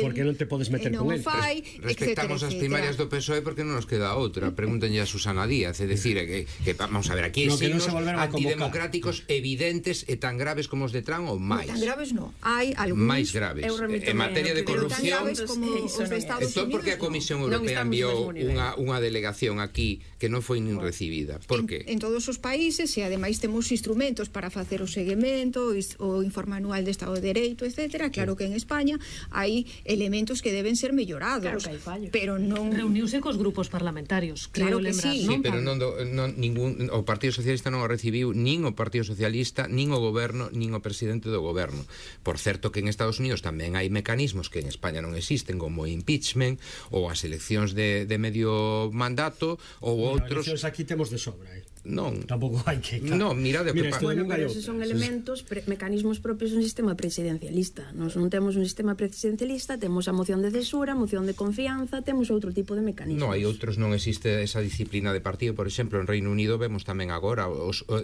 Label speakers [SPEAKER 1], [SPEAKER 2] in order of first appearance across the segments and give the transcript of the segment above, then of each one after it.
[SPEAKER 1] porque non te podes meter con el.
[SPEAKER 2] Respectamos as primarias do PSOE porque non nos queda outra. Pregúntenlle a Susana Díaz, é dicir, que vamos a ver, aquí hai signos antidemocráticos evidentes e tan graves como os de Trump ou máis.
[SPEAKER 3] Tan graves non, hai algúns
[SPEAKER 2] máis graves. En materia de corrupción, entón porque a Comisión Europea enviou unha delegación aquí que non foi nin recibida. Por que?
[SPEAKER 3] En todos os países, e ademais temos instrumentos para facer o seguimento, o informe anual de Estado de Dereito, etc. Claro que en España hai elementos que deben ser mellorados.
[SPEAKER 4] Claro que hai fallos.
[SPEAKER 3] Pero non...
[SPEAKER 4] Reuniuse cos grupos parlamentarios,
[SPEAKER 3] claro que
[SPEAKER 4] lembrar,
[SPEAKER 3] sí.
[SPEAKER 4] Non,
[SPEAKER 2] pero o Partido Socialista non o recibiu nin o Partido Socialista, nin o Goberno, nin o presidente do Goberno. Por certo que en Estados Unidos tamén hai mecanismos que en España non existen, como o impeachment ou as eleccións de medio mandato ou outros...
[SPEAKER 1] Eleccións aquí temos de sobra,
[SPEAKER 2] Non.
[SPEAKER 1] Tampouco hai que...
[SPEAKER 2] Non, mira,
[SPEAKER 5] bueno, pero esos son elementos, mecanismos propios dun sistema presidencialista. Nos non temos un sistema presidencialista, temos a moción de censura, a moción de confianza, temos outro tipo de mecanismos.
[SPEAKER 2] Non, hai outros, non existe esa disciplina de partido. Por exemplo, en Reino Unido vemos tamén agora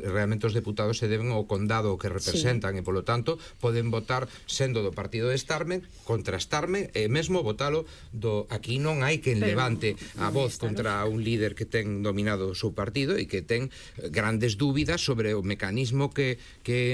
[SPEAKER 2] realmente os deputados se deben ao condado que representan, e polo tanto poden votar sendo do partido de Starmer contra Starmer, e mesmo votalo do... Aquí non hai quen levante a voz contra un líder que ten dominado o seu partido e que ten grandes dúbidas sobre o mecanismo que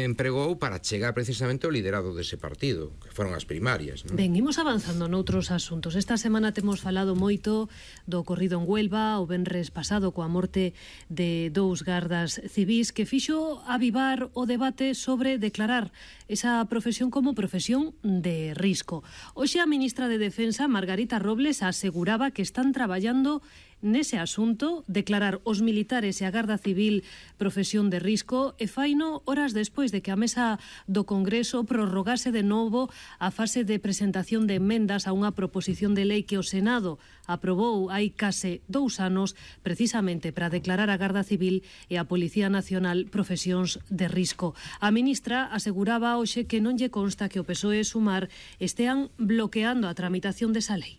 [SPEAKER 2] empregou para chegar precisamente ao liderado dese partido, que foron as primarias, non?
[SPEAKER 4] Ben, imos avanzando noutros asuntos. Esta semana temos falado moito do ocorrido en Huelva o venres pasado coa morte de 2 gardas civís, que fixo avivar o debate sobre declarar esa profesión como profesión de risco. Hoxe a ministra de Defensa, Margarita Robles, aseguraba que están traballando nese asunto, declarar os militares e a Garda Civil profesión de risco, e faino horas despois de que a mesa do Congreso prorrogase de novo a fase de presentación de emendas a unha proposición de lei que o Senado aprobou hai case 2 anos precisamente para declarar a Garda Civil e a Policía Nacional profesións de risco. A ministra aseguraba hoxe que non lle consta que o PSOE e Sumar estean bloqueando a tramitación desa lei.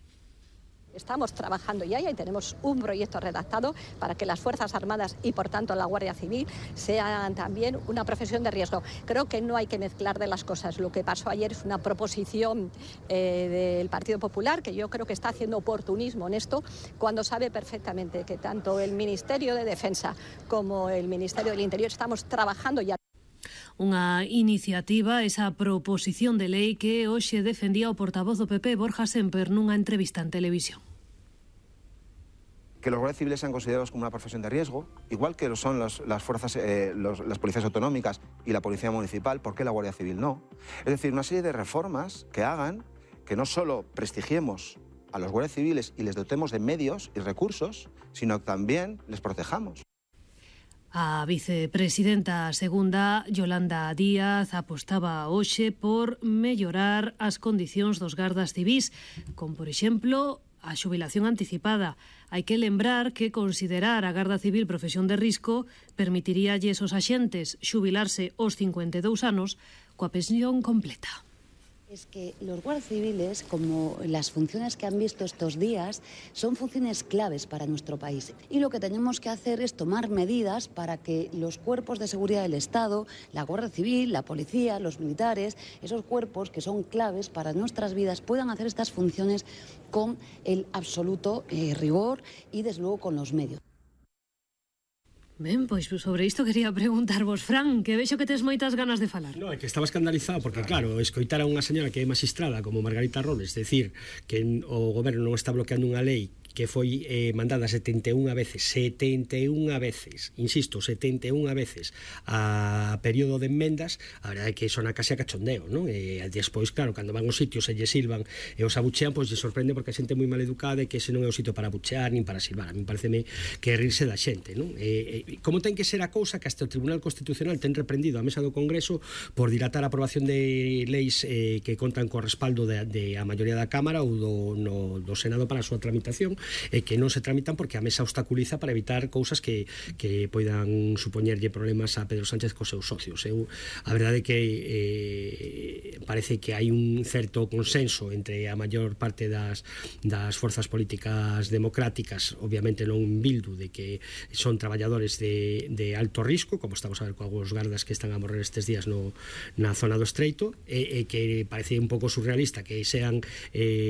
[SPEAKER 6] Estamos trabajando ya y tenemos un proyecto redactado para que las Fuerzas Armadas y, por tanto, la Guardia Civil sean también una profesión de riesgo. Creo que no hay que mezclar de las cosas. Lo que pasó ayer es una proposición del Partido Popular, que yo creo que está haciendo oportunismo en esto, cuando sabe perfectamente que tanto el Ministerio de Defensa como el Ministerio del Interior estamos trabajando ya.
[SPEAKER 4] Unha iniciativa, esa proposición de lei que hoxe defendía o portavoz do PP, Borja Semper, nunha entrevista en televisión.
[SPEAKER 7] Que los guardias civiles sean considerados como una profesión de riesgo, igual que lo son las policías autonómicas y la policía municipal, ¿por qué la Guardia Civil no? Es decir, una serie de reformas que hagan que no solo prestigiemos a los guardias civiles y les dotemos de medios y recursos, sino que también les protejamos.
[SPEAKER 4] A vicepresidenta segunda, Yolanda Díaz, apostaba hoxe por mellorar as condicións dos gardas civís, con, por exemplo, a xubilación anticipada. Hai que lembrar que considerar a Garda Civil profesión de risco permitiríalles aos axentes xubilarse aos 52 anos coa pensión completa.
[SPEAKER 8] Es que los guardias civiles, como las funciones que han visto estos días, son funciones claves para nuestro país. Y lo que tenemos que hacer es tomar medidas para que los cuerpos de seguridad del Estado, la Guardia Civil, la policía, los militares, esos cuerpos que son claves para nuestras vidas, puedan hacer estas funciones con el absoluto rigor y, desde luego, con los medios.
[SPEAKER 4] Ben, pois sobre isto quería preguntarvos, Fran, que vexo que tes moitas ganas de falar.
[SPEAKER 1] No, é que estaba escandalizado porque, claro, escoitar a unha señora que é magistrada como Margarita Robles decir que o goberno non está bloqueando unha lei que foi mandada 71 veces, insisto, 71 veces a período de enmendas, a verdade é que sona case a cachondeo, non? E despois, claro, cando van os sitios e lle silvan e os abuchean, pois lle sorprende porque a xente moi mal educada e que ese non é o sitio para abuchear nin para silvar. A mí pareceme que é rirse da xente, non? Como ten que ser a cousa que hasta o Tribunal Constitucional ten reprendido a mesa do Congreso por dilatar a aprobación de leis que contan co respaldo de a maioría da Cámara ou do Senado para a súa tramitación, e que non se tramitan porque a mesa obstaculiza para evitar cousas que poidan supoñerlle problemas a Pedro Sánchez cos seus socios. A verdade é que parece que hai un certo consenso entre a maior parte das forzas políticas democráticas, obviamente non Bildu, de que son traballadores de alto risco, como estamos a ver cos gardas que están a morrer estes días na zona do Estreito, e que parece un pouco surrealista que sean